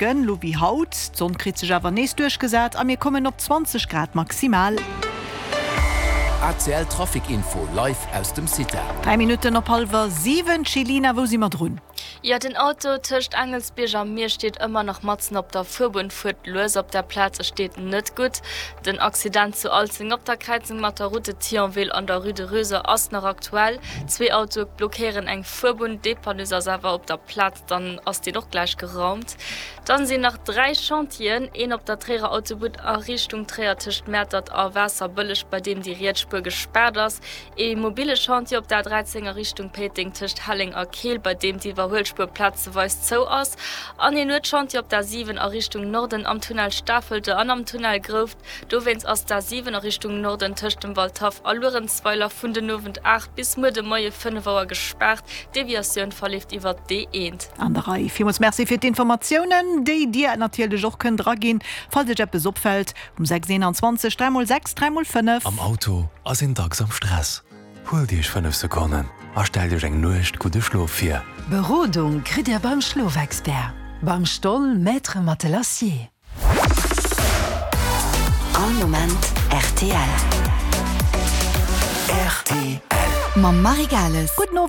Lo wéi haut, d'Sonn kritt sech awer nees duerchgesat a mir kommen op 20 Grad maximal. ACL Trafic Info live aus dem CITA. 3 Minutten op hallwer 7, Chelina, wou si mer drun? Jo, den Auto tëscht Aengelsbierg a Miersch steet ëmmer nach matzen op der Fuerbunn, fuert lues op der Plaz, e steet net gutt. Den Accident zu Alzeng op der Kräizung mat der Route de Thionville an der Rue de Röser ass nach aktuell. Zwee Autoe blockéieren eng Fuerbunn, Dépanneuses ass awer op der Plaz. Dann ass deen och gläich geraumt. Dann sinn nach 3 Chantieren, een op der Tréierer Autobunn a Richtung Tréier tëscht Mäertert a Waasserbëlleg, bei deem déi riets Spuer gespaart ass, ee mobile Chantier op der A13 a Richtung Péiteng tëscht Helleng a Keel, bei deem d'Iwwerhuelspuer plazeweis zou ass, an een Nuetschantier op der A7 a Richtung Norden am Tunnel Stafelte an am Tunnel Grouft. Dowéinst ass d'A7 a Richtung Norden tëscht dem Waldhaff a Luerenzweiler vun den Owend 8 bis muer de Moie 5 Auer gespaart. D'Deviatioun verleeft iwwer d'E1. An der Rei. Villmools Merci fir d'Informatiounen, déi Dir natierlech och kënnt eraginn, falls Iech eppes opfält, um 6 21 3 mol 6 3 mol 5. Am Auto ass een dacks am Stress. Huelt Iech 5 Sekonnen a stellt Iech eng Nuecht gudde Schlof vir. Berodung kritt Dir beim Schlofexpert, beim Stoll Maître Matelassier. All Moment rtl. Rtl. Mam Marie Gales. Gudden Owend.